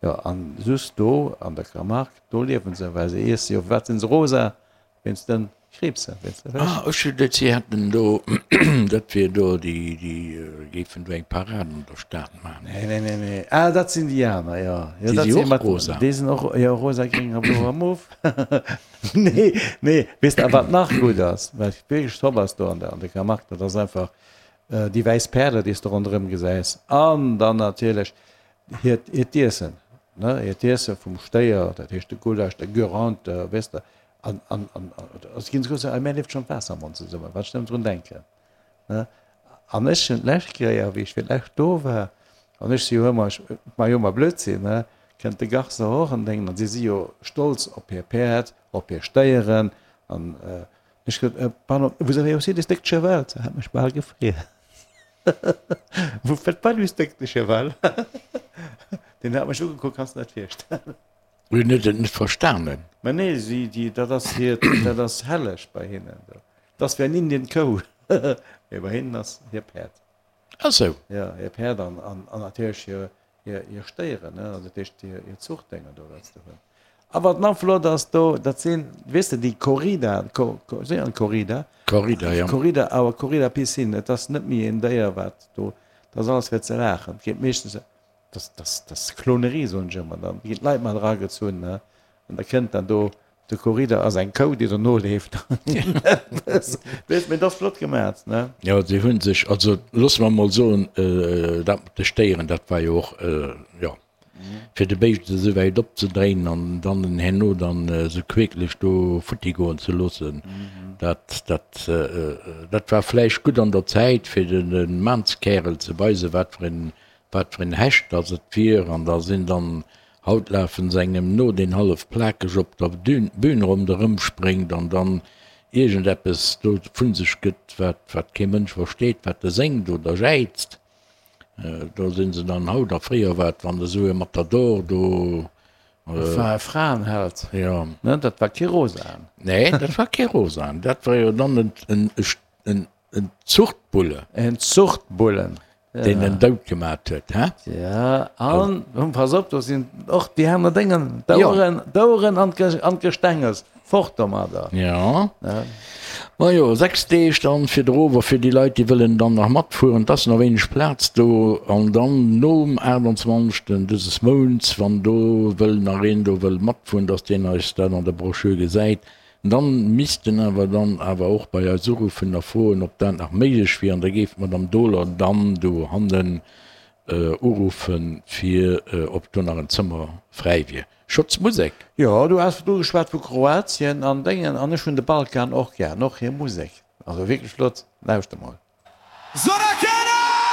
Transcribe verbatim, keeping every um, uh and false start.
Jo, an just do an der Camargue, do liewen se, well se iesse jo, firwat sinn se rosa? Wéinst den Kriibsen, weess de. Ah, ech hu geduet, si hätten do, dat wier do, déi, déi géifen do eng Parade an der Stad maachen. Nee, nee, nee, nee. Ah, dat sinn déi aner, jo. Jo, Déi dat si si och mat, rosa. déi sinn och, jo, rosa, gréng a blo a mof. Nee, nee, weess de, a wat nach gutt ass, wat wierklech top ass do an der, an der Camargue, dat ass einfach déi wäiss Päerder, déi s de ronderëm gesäis an dann natierlech hiert, hiert Iessen, ne, hiert Iesse vum Stéier, dat heescht de Gulasch, de Guérande, weess de. An, an, an, also ginn se guer, mir leeft schonn d'Waasser am Mond zesummen, wann ech nëmmen drun denken, ne. An ech hunn d'lescht Kéier, wéi ech fir d'lescht do war, an ech si jo ëmmer, ech maa jo ëmmer Blödsinn, ne, kënnt de Garçon och an denken, an si si jo stolz op hir Päerd, op hir Stéieren, an ech gesot, Pardon, vous avez aussi des steaks de cheval? Se hat mech bal gefriess. Vous faites pas du steak de cheval? Deen hat mech ugekuckt, kanns de dat virstellen? Hunn huet et net verstanen. Mä nee, si, déi, dat ass hiert, dat ass helleg bei hinnen do. Dat ass wéi an Indien d'Kou, mee bei hinnen ass hir Päerd. Ah sou. Jo, hir Päerd an, an, an natierlech hir, hir, hir Stéieren, ne, also dat heescht hir, hir Zuchtdénger do, wat se do hunn. A wat nach flott ass do, dat sinn, weess de, déi Corrida, Co, Co, seet een Corrida? Corrida, jo. Corrida, awer Corrida Piscine, et ass net méi een Déier, wat do, dat ass alles fir ze laachen. Et geet meeschtens Das, das, das Klonerie, soen ech ëmmer. Dann ginn d'Leit mat eragezunn, ne? An da kënnt dann do, de Corrida ass eng Kou, déi der noleeft. Weess, mee dat ass flott gemat, ne? Jo, si hu sech, also loosse mer emol soen, dat mat de Stéieren, dat war jo och, jo, fir de Béischt esou wäit opzedréinen an dann en herno dann esou queeklech do futti goen ze loossen, dat, dat, dat war vläicht gutt an der Zäit, fir de Maanskärel ze weisen, wat fir en wat fir en Hecht dass et wier, an da sinn dann, haut lafen se engem no, deen hallef plakeg op der Bühn ronderëm spréngt an dann iergendeppes do vu sech gëtt, wat, wat kee Mënsch versteet, wat e séngt oder jäizt. Do sinn se dann haut, a fréier war et, wann esou e Matador do. Dat war e Fraenheld, Jo. ne? Dat war kee Rosaen. Nee, dat war kee Rosaen, dat war jo dann en, en, en Zuchtbulle. En Zuchtbullen. Deen en dout gemat huet, hä? Ja, an, pass op, do sinn och déi aner Déngen, d'Oueren, d'Oueren an d'Gestenges, fort domadder. Ja. Majo, sechs Deeg dann fir d'Rover, fir déi Leit, déi wëllen dann nach matfueren. Et ass nach wéineg Plaz do. An dann nom aachtundzwanzegsten dëses Mounts, wann do wëll nach een do wëll matfueren, dass deen eis dat an der Broschür gesäit, Dann misst en awer dann awer och bei eis uruffen a froen, ob dat nach méiglech wier. An da géif d'Madame Dohler dann dohannen uruffen, fir ob do nach en Zëmmer fräi wier. Schotz Musek. Jo, du has virdru geschwat vu Kroatien an Déngen, an ech hunn de Balkan och gär, an och hir Musek. Also wierklech flott. Lauschter mol. Zorakene!